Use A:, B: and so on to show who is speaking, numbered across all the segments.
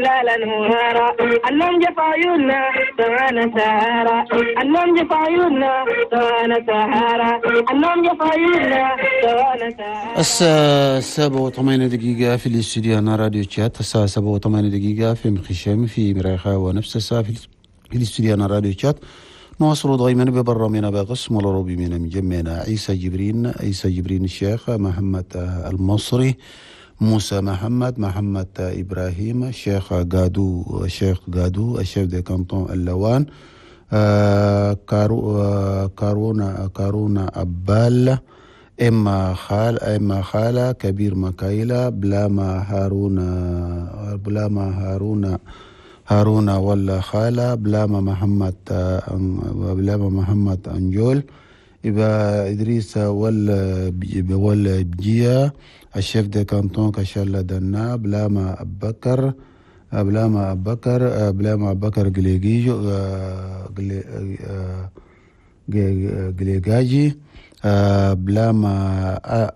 A: لا نهارا النوم جف عيوننا سوانا سهارا النوم جف عيوننا سوانا سهارا النوم جف عيوننا سوانا سهارا.
B: الساعة 7:08 في الاستوديو أنا راديو تشات. الساعة 7:08 في مخشم في مريخة، ونفس الساعة في الاستوديو أنا راديو تشات. نواصل دائما ببرنامجنا بقسم العربي من مجمعنا عيسى جبرين، عيسى جبرين الشيخ محمد المصري، موسى محمد، محمد إبراهيم، الشيخ قادو، الشيخ قادو، ال chef de canton اللوان، كارونا، كارونا أبال، إما خال، إما خالة، كبير مكايلة، بلاما هارون، بلاما هارون، هارون ولا خالة، بلاما محمد، بلاما محمد أنجول، يبقى إدريس ولا بجيا، ال chef de canton كشالة دنا، بلاما أبكر، بلاما أبكر، بلاما أبكر قليجيجو، قليجاجي،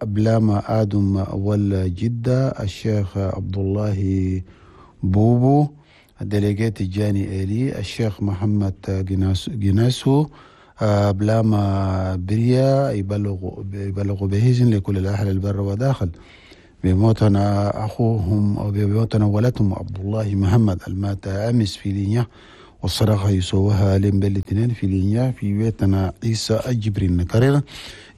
B: بلاما آدم ولا جدة، الشيخ عبد الله بوبو، ال délégué تجاني إيلي، الشيخ محمد جناسو، بلاما بريا. يبلغ بهزن لكل الأهل البر وداخل بموتنا أخوهم أو بموتنا ولدهم عبد الله محمد المات أمس في لينيا، والصدقة يسوها لين بالاثنين في لينيا في بيتنا عيسى جبرين. نكرر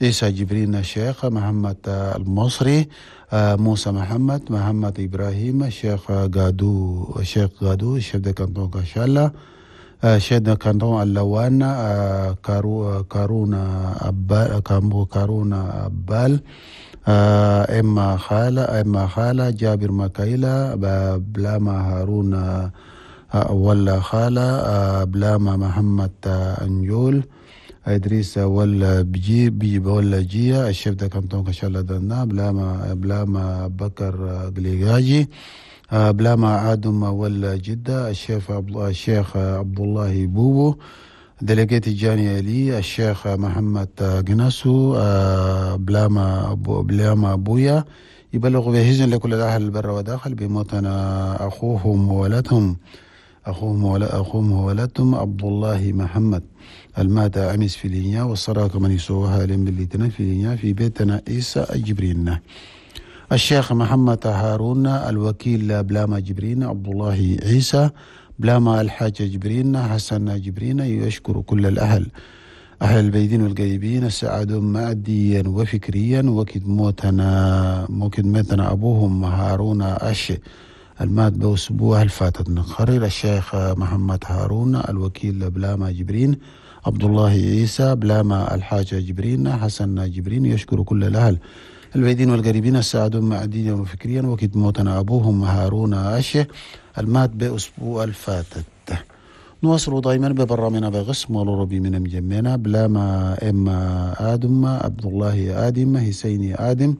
B: عيسى جبرين الشيخ محمد المصري، موسى محمد، محمد إبراهيم، الشيخ قادو، الشيخ قادو، ال chef de canton كشالة، chef de canton اللوان، كارونا أبال، كارونا أبال، إما خالة، إما خالة، جابر مكايلة، بلاما هارون ولا خالة، بلاما محمد أنجول، إدريس ولا بجي بي ولا جيا، ال chef de canton كشالة دنا، بلاما بكر قليغاجي، بلاما آدم ولا جدة، الشيخ عبد الله بوبو، délégué تجاني علي، الشيخ محمد جناسو، بلاما أبويا. يبلغ بهزن لكل الأهل البر وداخل بموتنا أخوهم وولدهم، أخوهم وولدهم عبد الله محمد المات أمس في لينيا، والصلاة من يسوها لم بالليتنا في لينيا في بيتنا عيسى جبرين. الشيخ محمد هارون الوكيل بلاما جبرين، عبد الله عيسى، بلاما الحاج جبرين، حسن جبرين. يشكر كل الأهل، أهل البيدين والقريبين السعادوا ماديا وفكريا. وكد موتنا أبوهم هارون أش المات بأسبوع الفاتت. نقرر الشيخ محمد هارون الوكيل بلاما جبرين، عبد الله عيسى، بلاما الحاج جبرين، حسن جبرين. يشكر كل الأهل البعيدين والقريبين السعادوا ماديا وفكريا. وكد موتنا أبوهم هارون أشه المات بأسبوع الفاتت. نواصل دائما ببرنامجنا بقسم العربي من مجمعنا بلاما إما آدم، عبد الله آدم، حسيني آدم،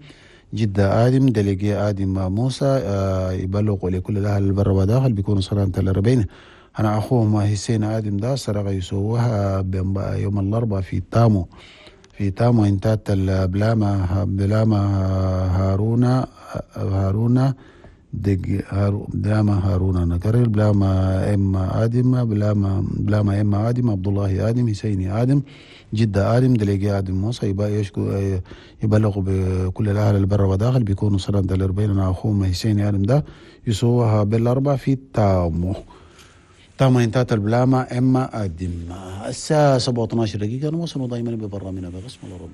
B: جدة آدم، délégué آدم موسى. يبلغ لكل الأهل البر وداخل بيكونوا صلاة الأربعين. أنا أخوهم حسين آدم ده سرق يسووها يوم الأربعاء في تامو، في تامو انتات بلاما هارونا دق بلاما هارونا. نكرر بلاما إما آدم، بلاما إما آدم، عبد الله آدم، حسيني آدم، جدة آدم، délégué آدم موسى. يبلغ بكل الأهل البر وداخل بيكونوا صلاة الأربعين. أنا أخوهم حسيني آدم ده يسووها بالأربعة في تامو، تامو انتات البلاما إما آدم. الساعة 7:12 نواصل دائما ببرنامجنا بقسم العرب.